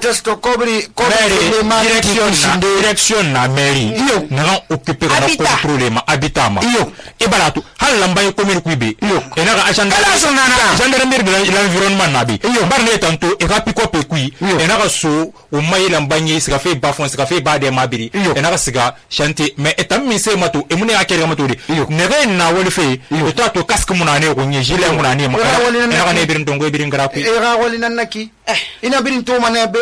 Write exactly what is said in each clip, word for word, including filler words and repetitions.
testo kobri kobri direction direction na mairie iyo na occuper na contrôler ma habitat ma iyo ibalatu hal lambay commune kuibe iyo enaga agenda gendarmerie de l'environnement nabi iyo barne tanto e rapi kope kui enaga so o mai lambanye sika fe bafon sika fe bade mabiri enaga siga chanter mais etam mi se mato e mune akere mato de nege na woli fe e to to casque munane ko nye gilet munane ma enaga ne birin tongo birin graphi e ga woli nanaki ina birin to manebe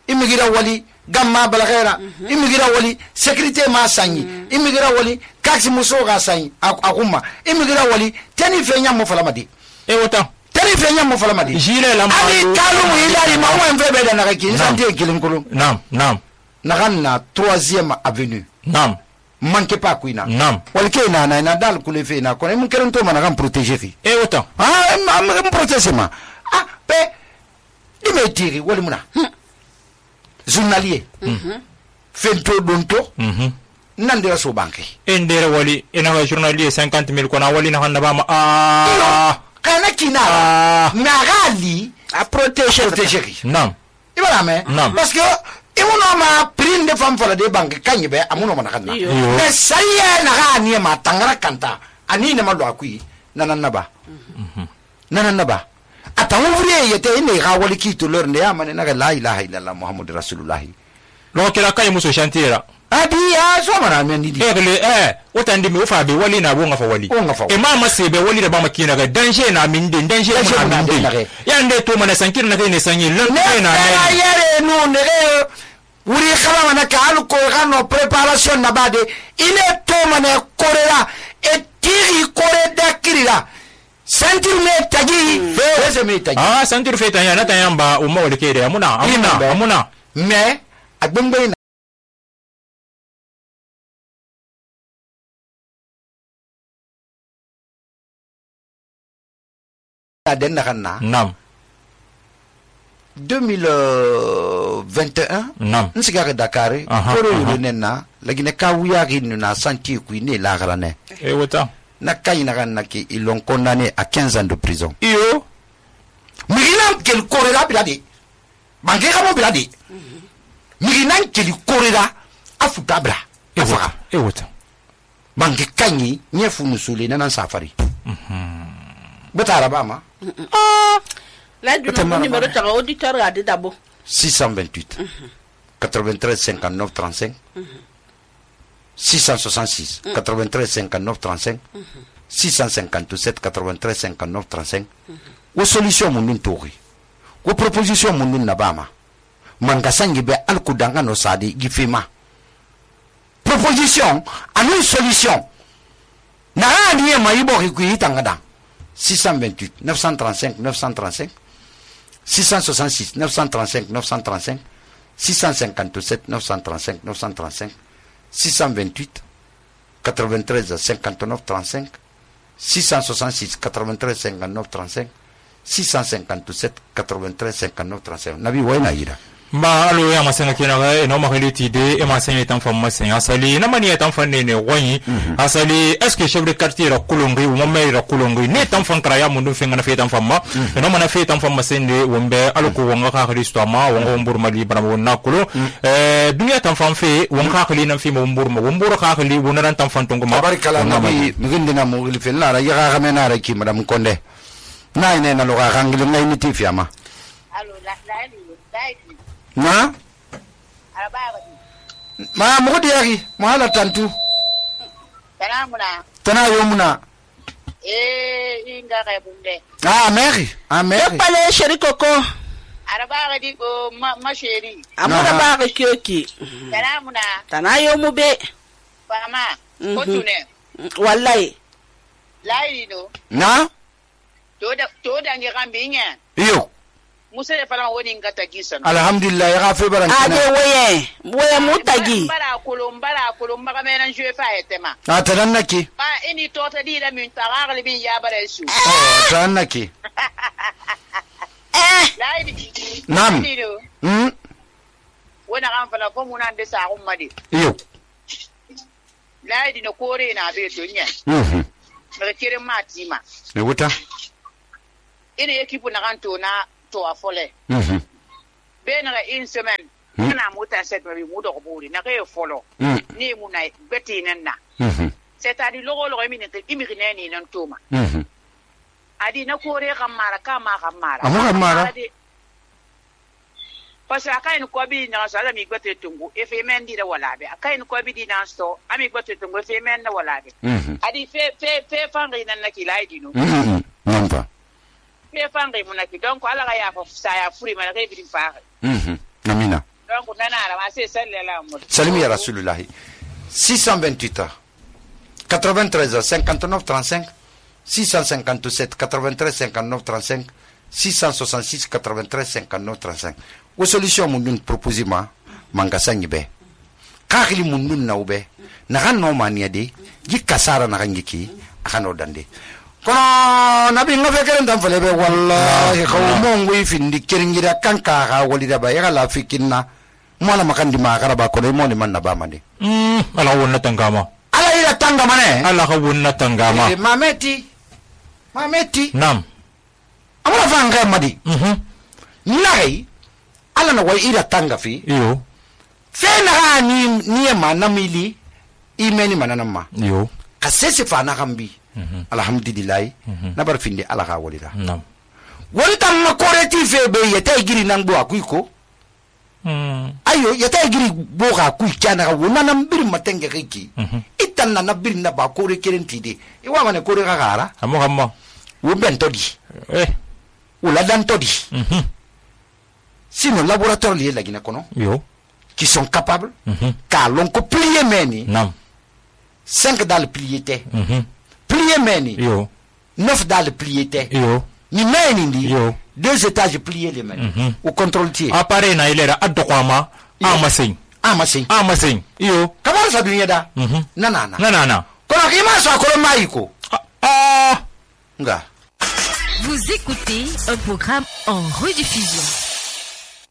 immigira wali gamma balagera immigira wali sécurité ma sanyi immigira wali kaksi muso ga sanyi akuma immigira wali tani fenya mo falamadi e wota tani fenya mo falamadi gilet la ali talu ilari ma wan febe da nakaki santi kilinkulu nam nam naganna troisième avenue nam manque pas kuina nam wal ke na na dal kule fe na ko mun keron to managan protéger fi e wota ah am protéger ma ah pe dimetiri wali muna journalier mhm fento donto mhm nandira so banque endere wali ena journalier cinquante mille kona wali na handa ba ah kana kina nagali a protéger protéger non ibara me parce que imuno ma prime de femme fola de banque kanyibe amuno mana kana mais saye na gani ma tangara kanta ani ne malo akui nananaba mhm nananaba ata ouvrier yete ine ga wali ki to lor ne amane na la ilaha illallah muhammadur rasulullah lo kila kay muso chantira adi ya so mara men di egle eh otandi mi ofa be wali na bonga fa wali e mama sebe wali da ba makina ga danger na min din danger na min din ya nde to mana sankir na kai ne sanyi lan kai na ya yere no ne wuri khala mana ka alu ko gano préparation na bade ile to mana korera e tiri kore da kirira sentir me tagi fe me tagi ah sentir fe tanya na tayamba umma wali kede amuna amuna amuna me agbengbe na den na kana nam deux mille vingt et un nam nsiga Dakar koro yulena lagine ka wuya ginu na santi ku ne la garane e wota na kayina ganna ki ils l'ont condamné à quinze ans de prison iyo migina kel korera bilade bange kamo bilade migina kel korera afuta bra afa e wota bange kanyi nyefu musule na safari mhm betara bama ah la du numéro de auditeur a d'abord six cent vingt-huit quatre-vingt-treize cinquante-neuf trente-cinq six cent soixante-six quatre-vingt-treize cinquante-neuf trente-cinq six cent cinquante-sept quatre-vingt-treize cinquante-neuf trente-cinq wo solution mun tori wo proposition mun nabama manga sangi be alkudanga no sadi gifema proposition anu solution na ani ma ibo ku itangada six cent vingt-huit neuf cent trente-cinq neuf cent trente-cinq six cent soixante-six neuf cent trente-cinq neuf cent trente-cinq six cent cinquante-sept neuf cent trente-cinq neuf cent trente-cinq six cent vingt-huit quatre-vingt-treize cinquante-neuf trente-cinq six cent soixante-six quatre-vingt-treize cinquante-neuf trente-cinq six cent cinquante-sept quatre-vingt-treize cinquante-neuf trente-cinq nabi wayna ira ba alo ya masanga kina ga no ma reliti de e masanga tan fam masanga asali na mani tan fan ne ne wani asali est ce que chef de quartier ra kulongi mo mai ra kulongi ne tan fan kraya mun dun fenga na fe tan fam ma no mana fe tan fam masende wombe alko wonga ka kristo ma wonga wombur mali bana wonna kulo eh dunya tan fam fe wonga ka na fi mo wombur ma wombur ka khali wona tan fan tongo ma barikala nabi migindina mo gilfe la ra ya ga mena ra ki madam konde nay ne na lo ga ngil ngay niti fiama allo la la na ma mo diari mo hala tantu tanamuna tana yomuna eh inga ga bunde ah meri ah meri pale sheri koko araba ga di ko ma sheri amuna ba ga kyoki tanamuna tanayo mu be fama ko tune wallahi lai no na to da to da ngi gambi nya iyo musa ya fara woni ngata gisan alhamdulillah ya gafe baran ade woye woye mutagi bara kulum bara kulum maga menan jwe fa etema a tanannaki ba ini to ta di da min tagarli bin ya bare su oh tanannaki eh laidi nam hmm wona kan fala ko munan de sa umma de iyo laidi no kore na be to nya mhm daga kirin matima ne wuta ina ekipu na kan to na to afole mhm bena une semaine na muta set mi mu do buri na ke folo ni mu na beti nan na c'est-à-dire logo logo mi ne imi ne ni nan toma adi na kore kan mara ka ma kan mara amu kan mara parce que akain ko bi na sala mi gote tungu e fe men di da wala be akain ko bi di na sto ami gote tungu fe men na wala be adi fe fe fe fangi nan na kilai dino non pas fe fangi mun na ki donc ala ga ya fa sa ya furi ma ga bi fa namina donc nana ala ma se sallallahu alaihi salimi ya rasulullah six cent vingt-huit quatre-vingt-treize cinquante-neuf trente-cinq six cent cinquante-sept quatre-vingt-treize cinquante-neuf trente-cinq six cent soixante-six quatre-vingt-treize cinquante-neuf trente-cinq o solution mun dun proposer ma manga sanyi be kakili mun dun na ube na kan no mania de ji kasara na kan yiki akano dande kono nabi ngofe keren tan fele be wallahi khawmo ngui findi keringira kanka ga walida ba ya la fikinna mola makandi ma karaba ko mo ni man na ba mande mm ala wonna tangama ala ila tangama ne ala ka wonna tangama e mameti mameti nam amala fanga madi mhm nai ala na wai ila tanga fi yo fena ni ni ma namili imeni manana ma yo kasese fana kambi alhamdulillah na bar finde ala ka walida nam wonta ma koreti fe be yeta giri nan bo akuiko mm ayo yeta giri bo ka ku kana ka wona nan bir matenge kiki itan na bir na ba kore kerenti de e wa mane kore ka gara amo kamma wo bento di eh wala dan todi mhm sinon laboratoire lié la Guinée kono yo qui sont capables mhm ka lon ko plier meni nam cinq dans le plié té mhm plier meni yo neuf dans le plié té yo ni meni ndi yo deux étages pliés les meni mhm au contrôle tier appareil na ilera adokwama amasin amasin amasin yo kamar sa dunya da mhm nanana nanana kono ki ma so ko maiko ah nga. Vous écoutez un programme en rediffusion.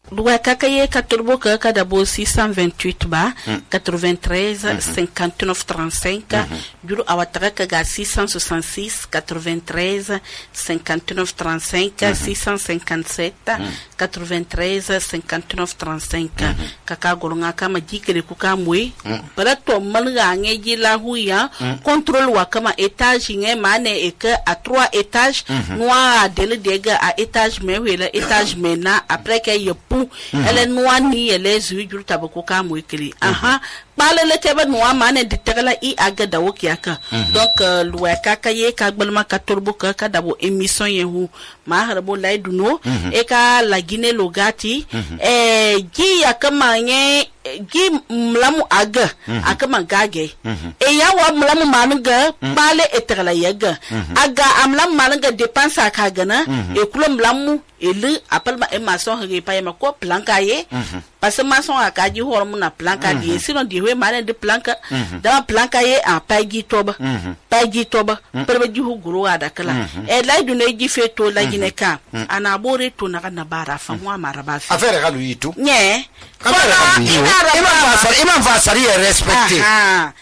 Loi Kakaye Katurbo Kadabo six cent vingt-huit ba quatre-vingt-treize cinquante-neuf trente-cinq Duro Awatara Kaga six cent soixante-six quatre-vingt-treize cinquante-neuf trente-cinq six cent cinquante-sept quatre-vingt-treize cinquante-neuf trente-cinq Kaka Golonga Kama Dikere Kuka Mwe Barato Malga Ngeji La Huya contrôle Wakama étage Nge Mane Eke à trois étages Noa Dele Dega à étage Mewela étage Mena après qu'il y a elle est noire ni elle est yeux du tabako kam wekeli aha bale le tebe noa mane de tegala I agada wokiaka donc loi kakaye ka gbalma ka torbo ka ka dabo émission yehu ma harabo laiduno e ka la Guinée logati eh gi yakama nye gi mlamu aga akama gage e ya wa mlamu manga bale etegala yaga aga amlamu manga dépense aka gana e kulo mlamu ele appelle ma maçon he pa ma ko planka ye parce que maçon aka ji hormu na planka di sinon di we mane de planka da planka ye a pagi toba pagi toba perbe ji huguru ada kala e la du ne ji feto la Guinée ka ana bore to na na bara fa mo amara ba fi affaire ga lui tout nye imam va sari respecter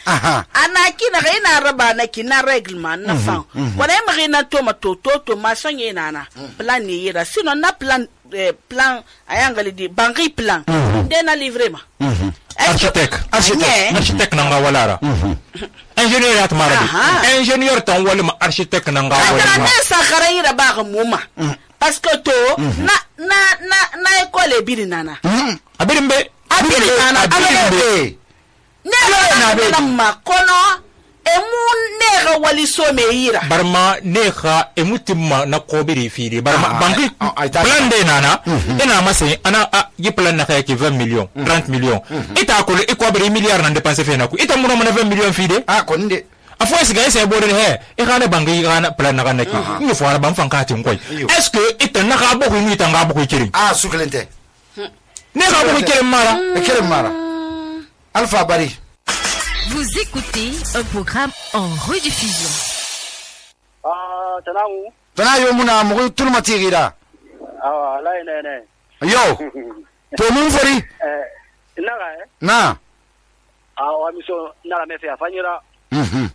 aha ana kina ga ina raba na kina règlement na fa ko ne ma na to ma to to to maçon ye nana plan ni yira sinon na plan plan ayangali di bangi plan dena livrer ma architecte architecte architecte nanga walara ingénieur at marabi ingénieur tan walima architecte nanga walara na sakara yira ba ga muma parce que to na na na na école biri nana abirimbe abiri nana abiri ne na ma kono emu nega wali so me yira barma nega emutimma na kobiri firi barma banki plan de nana ina mase ana yi plan na kayaki vingt millions trente millions ita ko e ko bari milliard na dépenser fe na ko ita muno na vingt millions fide ah ko nde afo esi ga ese bodere he e kana banki kana plan na kana ki ni fo ara ban fanka tin koy est-ce que ita na ka boku ni ita nga boku kiri ah suklente ne ka boku kiri mara e kiri mara alpha bari. Vous écoutez un programme en rediffusion. Ah, Tanaou. Tanaou muna mugu turma tigira. Ah, là ne ne. Yo. To mun fori. Eh, naga eh. Na. Ah, wa miso naga me fe afanyira. Mhm.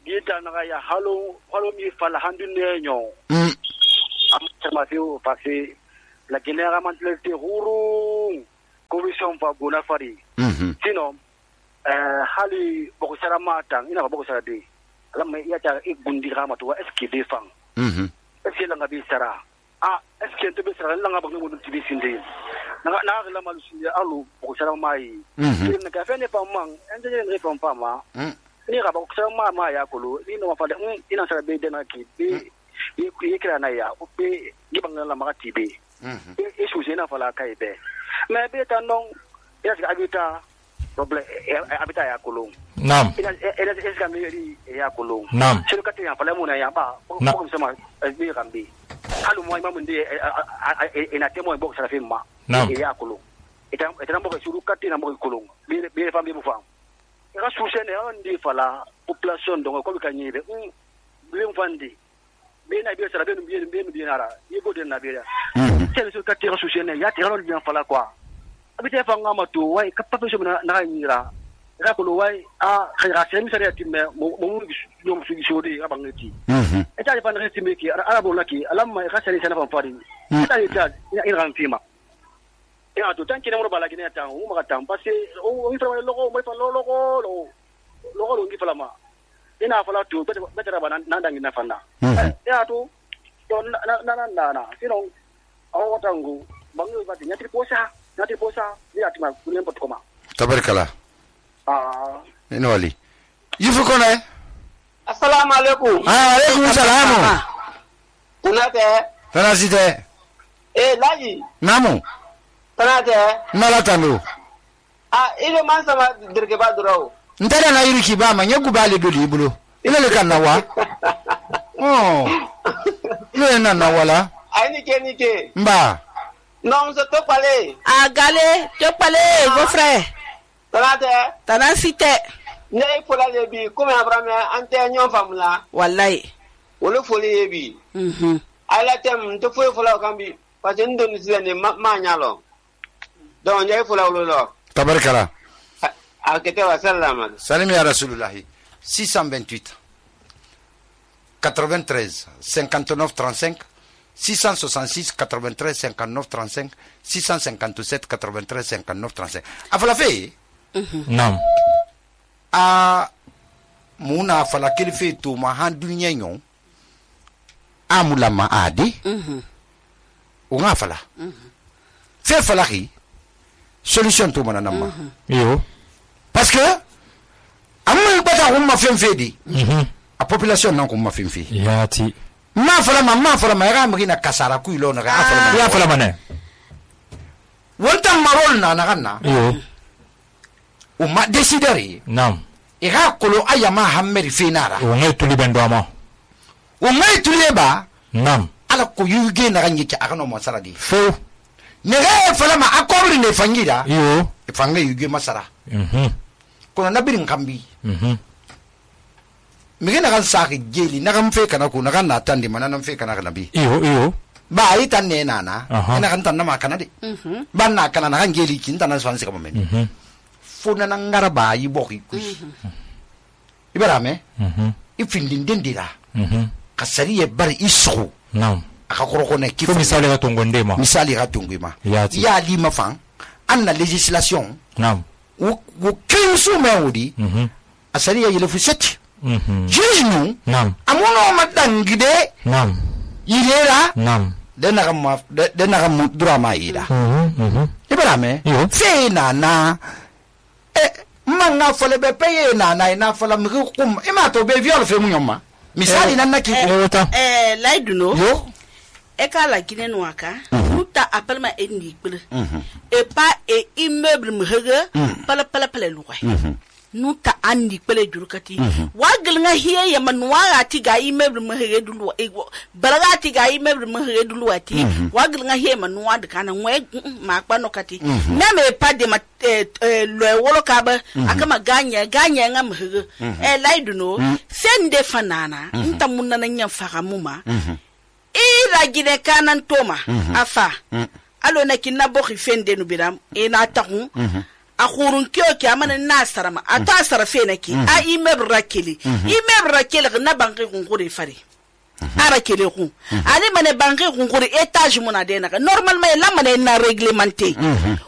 Gita naga ya halo halo mi fala handune nyo. Mm. Am ma fi o passé la Guinée a mentalité huru commission va gona fari sinon euh hali boko sara mata ina boko sara de lamma ya ta igundi rama to est ce que defan mhm est ce que la ngabi sara ah est ce que to be sara la ngaba ngo do tibi sinde na na la malu sinde alu boko sara mai mhm na ka fene pa man ende ne pa pa ma ni ga boko sara ma ma ya kolo ni no fa de ina sara be de na ki be yi kira na ya o be giban la ma tibi mhm e suje na fa la kai be mais be ta non ya ga abita problem abita ya kolong nam ina ina eska meri ya kolong nam sino kati ya pala muna ya ba ko sama bi rambi halu mo imamu ndi ina temo bo sara fimma ya kolong ita ita mo suru kati na mo kolong bi bi fambi bu fam ra susene on di fala population donc ko bi kanyibe bi mfandi bi na bi sara be bi bi bi nara yibo den na bi ya sel suru kati ra susene ya tira lo bien fala quoi abite fanga mato wai kappa so na na nyira ra ko wai a khira sem sare timme mo mo yo mo sugi shodi abangeti mhm e ta fa na timme ki ara bo laki alamma e khasari sana fan fari ta ni ta ina ran fima ina to tanki ne mo bala gine ta o ma ta parce o mi fa logo mo fa logo logo logo ngi fala ma ina fala to betara ba nan dangi na fanda ya to na na na na sino o watangu bangu ba tinya triposa nati posa ni atima kunembo tukoma tabarkala ah ino wali yifu kona assalamu alaikum ah alaikum salam tunate tanasite eh laji namu tunate mala tanu ah ile mansa ma dirge ba durawo ndara na yiri kibama nyegu bale do libulo ile le kanawa oh ile na na wala ai ni ke ni ke mba non se to pale a gale to pale go frère tanate tanasite ne fola le bi comme abrame ante nyon famula wallahi wolo foli bi mhm ala tem to fo fola kambi parce que ndo ni sene ma nyalo donc ne fola wolo lo tabarkala a kete wa sallama salam ya rasulullah six cent vingt-huit quatre-vingt-treize cinquante-neuf trente-cinq six cent soixante-six quatre-vingt-treize cinquante-neuf trente-cinq six cent cinquante-sept quatre-vingt-treize cinquante-neuf trente-cinq afala fe nam a muna fala kelfe to ma han dunya nyon amula ma adi mhm o nga fala mhm fe fala ri solution to mana namma yo parce que amul bata umma fen fedi mhm a population nan ko ma fen fe yati ma fala ma ma fala ma ga mri na kasara ku ilo na ga fala ma ya fala mane wonta marol na na ganna yo o ma decidere nam e ga kolo ayama hammeri finara o ngai tuli bendo ama o ngai tuli ba nam ala ko yuge na ganyi ka akano mo saradi fo ne ga fala ma akobri ne fangira yo e fanga yuge masara mhm kono nabirin kambi mhm mige na kan saki jeli na kan fe kana ko na kan na tandi mana nan fe kana kana bi iyo iyo ba ai tan ne nana ina kan tan na ma kana de mhm ban na kana na kan jeli kin tan na swan se ka men mhm funa na ngara ba yi boki ku ibara me mhm ifindin dendira mhm kasari e bar isu nam aka koroko ne ko misali ga tongo ndema misali ga tongo ma Yati. ya li ma fan anna legislation nam wo wo kinsu me wudi mhm asari ya yele fu set mhm jinu nam amono matangide nam yirera nam de na ma de na mu dura ma ida mhm mhm ibara me Yo. fe na na e manga fole be peye na na na fola mi kum e ma to be viol fe mu nyoma misali nan naki wota eh laiduno yo e ka la gine no aka uta appelma e ni gbele e pa e immeuble me hege pala pala pala luwai nuta andi pele jurukati wagel nga hiye ya manwa ati ga immeuble me hege dulu e balaga ati ga immeuble me hege dulu ati wagel nga hiye manwa de kana ngwe ma kpa no kati na me pa de ma lo wolo ka ba akama ganya ganya nga me hege e laidu no sende fanana nta munna na nya fagamuma ira gide kanan toma afa alo na kinna bo khifende no biram e na tahu a khurun kyo ki amana nasarama ata sarafe naki a immeuble rakeli immeuble rakeli na banki kun kure fare ara kele ku ani mane bangi kunkuri étage mona de na normalement la mane na réglementé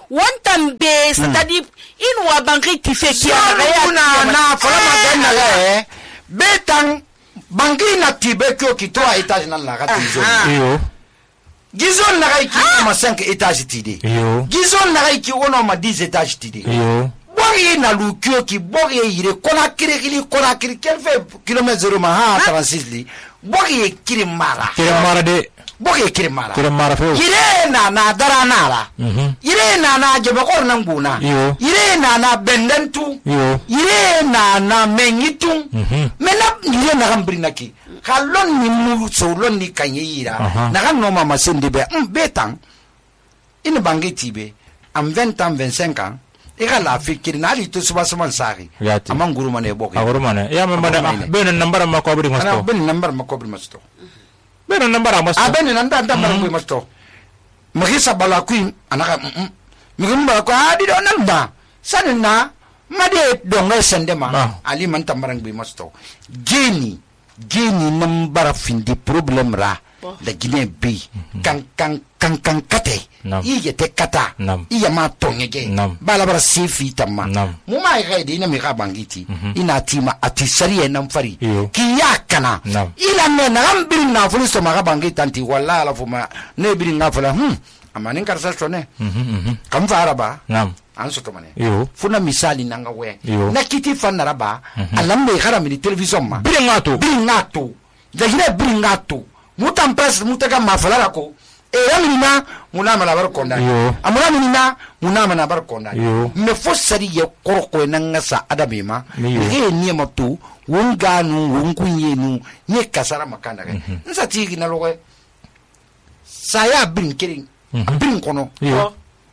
wontan be c'est-à-dire in wa bangi ti fe ki na na fala ma den na le betan bangi na tibe ko ki to étage na la gati zo iyo gizon na ga ki ma cinq étage ti de iyo gizon na ga ki wono ma dix étage ti de iyo bori na lukio ki bori yire kona kiri kiri kona kiri kelfe kilomètre zéro ma ha trente-six li bori kiri mara kiri mara de bori kiri mara kiri mara fe yire na na dara nara yire na na jebe kor nan guna yire na na bendentu yire na na menyitu mena yire na gambri naki kalon ni mu so lon ni kanyira na kan no mama sende be betan in bangi tibe am vingt ans vingt-cinq ans ega la fikiri na ali to suba suman sari amang guru mane bok aguru mane ya mama ben number ma ko bri masto ben number ma ko bri masto ben number ma masto a ben nanda number ko masto magisa bala kuin anaka migum bala ko adi do nanda sanna made donga sendema ali man tambarang bi masto geni geni nambara findi problem ra la Guinée bi kan kan kan kan kate iya te kata iya ma tongege bala bara sefi tamma mu ma ga de ina mi ga bangiti ina tima ati sariye nan fari ki yakana ila ne na ambiri na fulu so ma ga bangiti anti walla la fuma ne biri na fula hm amani karsa chone kam fara ba nam an so to mane funa misali nanga we na kiti fanara ba alambe gara mi television ma biri ngato biri ngato da hire biri ngato mutan press mutaka mafala ko e yamina muna mala bar konda amuna minina muna mana bar konda me fo sari ye korko nanga sa adabe ma e ni matu wonga nu wonkunye nu ni kasara makanda ke nsa tigi na lowe saya bin kirin bin kono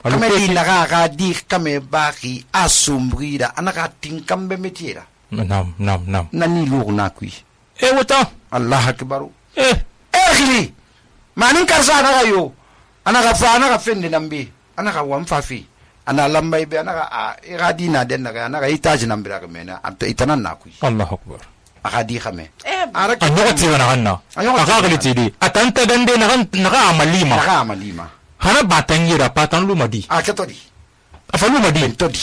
kame di naga ga di kame baki asumbrida anaka tinkambe metiera nam nam nam nani lu na kui e wota allah akbaru eh ekhili manin karsa na yo anaka fa anaka fende nambi anaka wamfa fi ana lamba ibe anaka a iradina den naga anaka itaji nambira ka mena itanan na kui allah akbar akadi khame araka anaka na ganna akakali tidi atanta dande na naka amalima naka amalima hana batangira patan lumadi akatodi afalu madi todi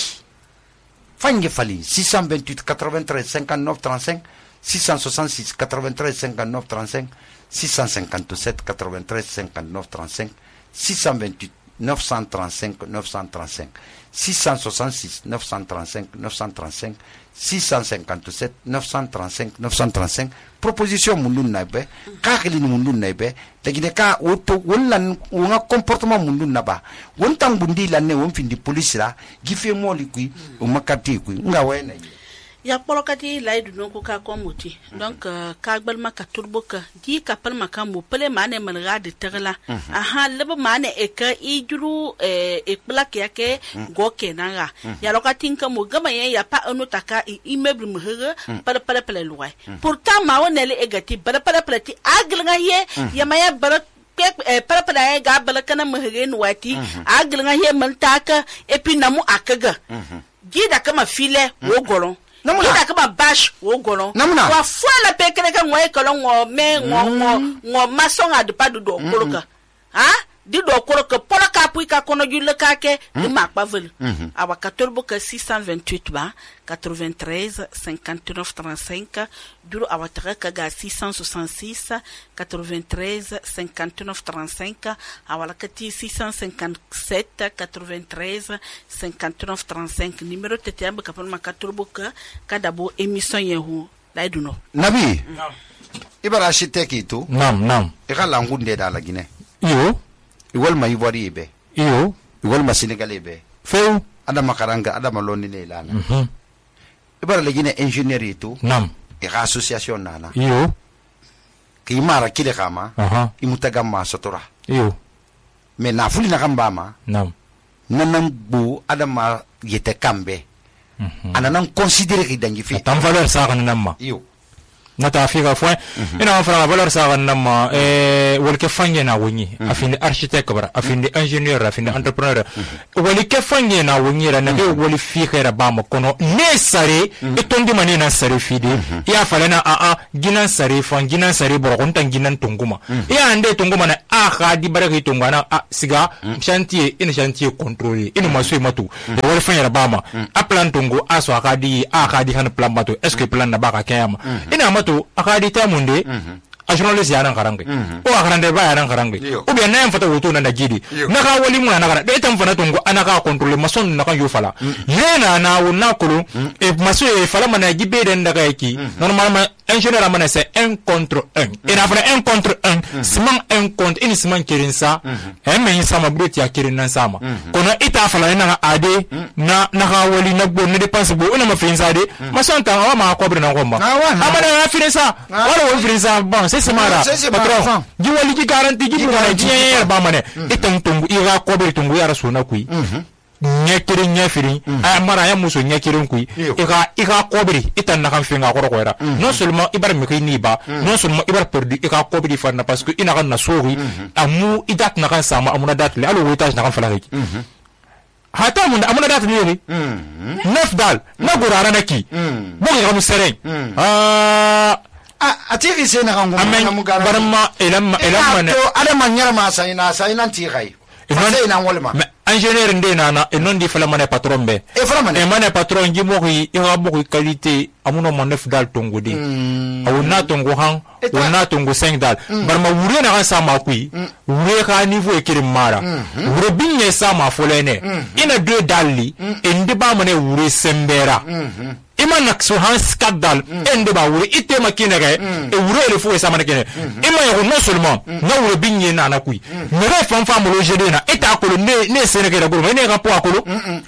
fange fali six cent vingt-huit quatre-vingt-treize cinquante-neuf trente-cinq six cent soixante-six quatre-vingt-treize cinquante-neuf trente-cinq six cent cinquante-sept quatre-vingt-treize cinquante-neuf trente-cinq six cent vingt-huit neuf cent trente-cinq neuf cent trente-cinq six cent soixante-six neuf cent trente-cinq neuf cent trente-cinq six cent cinquante-sept neuf cent trente-cinq neuf cent trente-cinq proposition mundun naibe kakili mundun naibe tagine ka woto wonlan wonga comportement mundun naba wontan bundi lanne won findi police la gife moli kui o makati kui nga wena ya polokati laidu non ko ka komuti donc ka gbalma ka turboka di ka palma ka mo pele mane malga de terla aha lebo mane e ka ijuru e plak yake goke nanga ya lokati ka mo gama ye ya pa anu taka immeuble mo hege para para pele luwai pourtant ma wonele e gati para para pele ti aglanga ye ya maya bara para para ga bala kana mo hege no wati aglanga ye man taka et puis namu akaga gida kama file wo golon Ida kama bash wo golon wa fala pe kene ka ngoy kolon ngo me ngo ngo ngo masonga de padu do koloka ha di do koloka polaka puika kono julle ka ke di makpa vel awa katolbo ka six cent vingt-huit ba quatre-vingt-treize cinquante-neuf trente-cinq duro awa taka ga six cent soixante-six quatre-vingt-treize cinquante-neuf trente-cinq awa kati six cent cinquante-sept quatre-vingt-treize cinquante-neuf trente-cinq numéro tetembe kapon makatolbo ka kadabo émission yehu laiduno nabi ibara architecte to nam nam e kala ngunde da la Guinée yo igol ma Ivoire be iyo igol ma Sénégalais be feu adama karanga adama loni le lana mhm ibara le Guinée ingénierie to nam e association nana iyo ki mara kile kama aha imutaga ma sotora iyo me na fuli na kamba ma nam nanam bu adama yete kambe mhm ananan considérer ki dangi fi tam valeur sa kan namma iyo nata figa fo ina fara valeur sa nama eh wal ke fanye na wonyi afinde architecte bara afinde ingénieur afinde entrepreneur wal ke fanye na wonyi ra na ke wal fi khaira ba ma kono ne sare e tondi mani na sare fide ya falena a a ginan sare fan ginan sare boro kon tan ginan tunguma ya ande tunguma na a kha di baraka tungana a siga chantier ina chantier contrôler ina maso matu wal fanye ra ba ma a plan tungu a so kha di a kha di han plan matu est ce que plan na ba ka kayama ina to akadi ta munde a journalist ya nan karange o akarande ba ya nan karange o bien na fata woto na gidi na ka wali mu na kara de tan fana tungo anaka contrôler mason na kan yo fala yena na wona kulu e maso e fala mana gibe den daga yaki normalement ingénieur amana c'est un contre un et na fana un contre un siman un contre ini siman kirin sa e men sama brut ya kirin nan sama kono ita fala na ade na na ka wali na bo ne dépense bo ona ma fin sa de mason tan wa ma ko bre na ko ma amana ya fin sa wala wo fin sa bon c'est semara patron ji wali ji garantie ji bura ji yer ba mane itan tungu ira ko bre tungu ya rasu na kui nyekiri nyefiri ay mara ya muso nyekiri kui ika ika kobri itan na kan finga koro koera non seulement ibar mi kini ba non seulement ibar perdu ika kobri farna parce que ina kan na sori amu idat na kan sama amuna dat le alo wetage na kan fala ki hata mun amuna dat le ni neuf dal na gurara na ki bo ga mu sereng ah atiri se na kan mu barma elam elam to ada manyara ma sai na sai nan ti gai sai na wolma ingénieur ndena na e non di fala mané patron be e fala mané e mané patron gi mo yi e ha mo qualité amuno mo neuf dal tongo di awuna tongo han wona tongo cinq dal barma wure na kan sama kui wure ka niveau e kirim mara wure binye sama folene ina deux dali e ndi ba mané wure sembera ima nakso han skadal ende ba wure ite makine ga e wure le fo sama ne kene ima yo non seulement na wure binye na na kui me re fam fam lo jede na eta ko ne ne sene ke da guru ne ga po akolo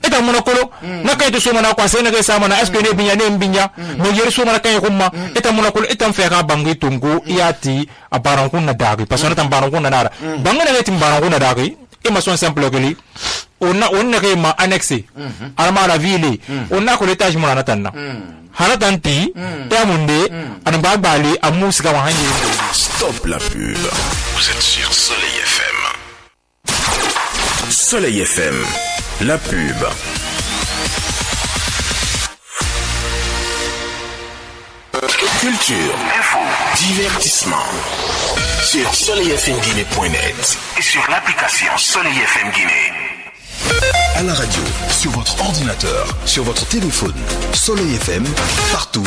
eta mo na kolo na kay to so na kwa sene ga sama na est ce que ne binya ne binya mo yeri so na kay ko ma eta mo na kolo eta fe ka bangi tungu yati abaran kun na dagi parce que na tambaran kun na dara bangana ne timbaran kun na dagi e ma son simple que li on a on a ma annexé arma la ville on a ko l'étage mo na tanna hala tanti ta munde an ba bali amu sika wa hanje. Stop la pub. Vous êtes sur Soleil F M. Soleil F M, la pub. Culture, info, divertissement. Sur soleil f m guinée point net et sur l'application Soleil F M Guinée. À la radio, sur votre ordinateur, sur votre téléphone, Soleil F M, partout.